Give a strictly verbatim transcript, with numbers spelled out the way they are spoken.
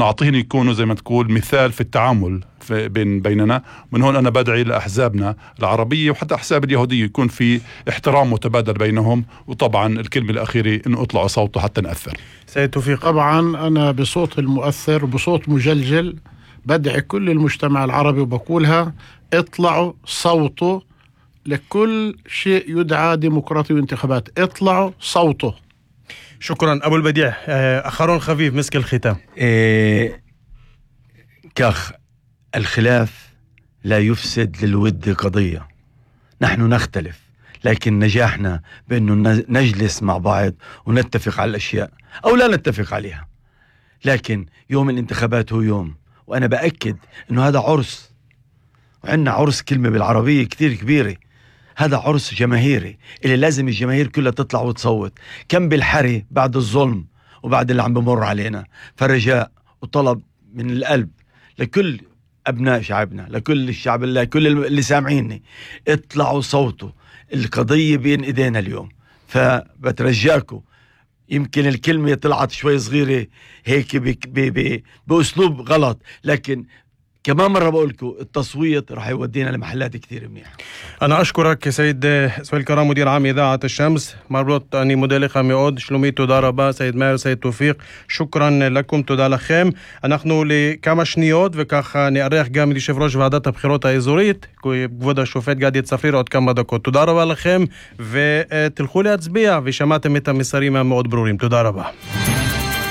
نعطيهم يكونوا زي ما تقول مثال في التعامل في بين بيننا. من هون أنا بدعي لأحزابنا العربية وحتى أحزاب اليهودية يكون في احترام متبادل بينهم، وطبعا الكلمة الأخيرة إنه اطلعوا صوته حتى نأثر. سيد توفيق. طبعا أنا بصوت المؤثر وبصوت مجلجل بدعي كل المجتمع العربي وبقولها: اطلعوا صوتوا لكل شيء يدعى ديمقراطي وانتخابات، اطلعوا صوته. شكرا أبو البديع. أخرون خفيف مسك الختام. إيه كاخ، الخلاف لا يفسد للود قضية. نحن نختلف، لكن نجاحنا بأنه نجلس مع بعض ونتفق على الأشياء أو لا نتفق عليها. لكن يوم الانتخابات هو يوم، وأنا بأكد أنه هذا عرس، وعندنا عرس كلمة بالعربية كتير كبيرة، هذا عرس جماهيري اللي لازم الجماهير كلها تطلع وتصوت. كم بالحري بعد الظلم وبعد اللي عم بمر علينا. فرجاء وطلب من القلب لكل أبناء شعبنا، لكل الشعب، لكل اللي سامعيني: اطلعوا صوتوا. القضية بين إيدينا اليوم، فبترجاكم. يمكن الكلمة طلعت شوي صغيرة هيك بأسلوب غلط، لكن كمان مرة بقولكم التصويت رح يودينا لمحلات كثير منيح. أنا أشكرك سيد سويل كرام مدير عام إذاعة الشمس. مربوط أني موديلي ميود شلومي تודה רבה سيد ماهر سيد توفيق. شكرا لكم, תודה לכם. אנחנו לכמה שניות וככה נארח גם את יושב ראש ועדת הבחירות האזורית כבוד השופט גדי צפריר עוד כמה דקות. תודה רבה לכם ותלכו להצביע, ושמעתם את המסרים המאוד ברורים. תודה רבה.